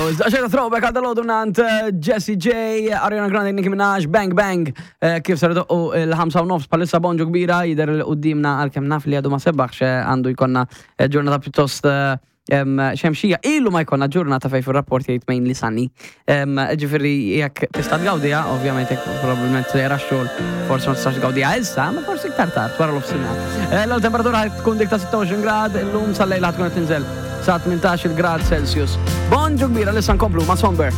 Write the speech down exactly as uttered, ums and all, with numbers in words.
Xejta throwback għal dal-għodu nant eh, Jessie J, Ariana Grande, Nicki Minaj, Bang Bang, eh, kif sar doqqu il-ħamsa u nofs palissa bonġu kbira jider l-qoddimna għal-kem naf li għadu ma sebbaħx eh, għandu jkonna eh, ġurnata pjuttost eh, em, xemxija. Ilu ma jkonna ġurnata fej fil-rapport jgħid mainly sunny. Em, Ġifieri jekk tista' tgawdiha, ovvjament jekk probabbilment sejra xogħol, forsi ma tistax tgawdiha issa, ma forsi iktar tard wara l-ofsinhar. Eh, L-temperatura ħad tkun dik ta' sitta u għoxrin grad, illum sal-lejla ħad tkun qed tinżel sa tmintax-il grad Celsius. Bonġu kbira, lissa nkomplu ma' Somber.